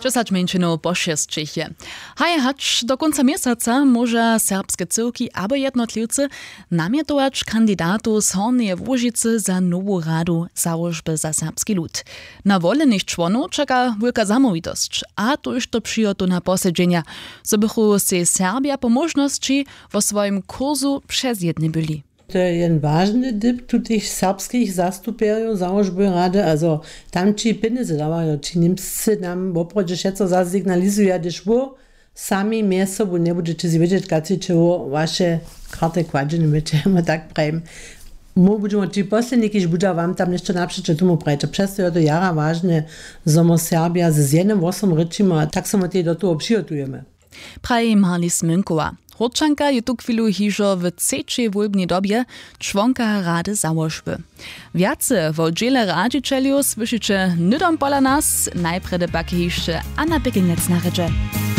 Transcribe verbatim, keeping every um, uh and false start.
Dźesać mjeńšinow pošesćich je. Haj, hač do kónca měsaca móža serbske cyłki abo jednotliwcy namjetować kandidatow z Hornjeje Łužicy za nowu radu załožby za serbski lud. Na wolenych čłonow čeka wulka zamołwitosć, a tójšto přijotowna posedźenja, zo bychu sej Serbja po móžnosći wo swojim kursu přezjedny byli. To je jen wažny dyp tutych serbskich zastupjerjow załožby rady, azo tam ći pjenjezy dawajo, ći Němscy nam woprawdźe wšetco zasignalizuja, hdyž wo sami mjez sobu njebudźeće si wědźeć, kaci će wo waše karty kładźeny byće, ma tak prajim. Mu budźemo ći posledni, kiž budźa wam tam něšto napřeće tomu prajić. A přesto je to jara wažne, zo mo Serbja z jenym hłosom rěčimy, a tak so my tej do toho přihotujemy. Praji Marli Smynkowa, Hórčanka je tuchwilu hižo w třećej wólbnej dobje čłonka rady załožby. Wjace wo dźěle radźićeljow słyšiće hnydom pola nas, najprjedy pak je hišće Anna Pekelnjec na rědźe.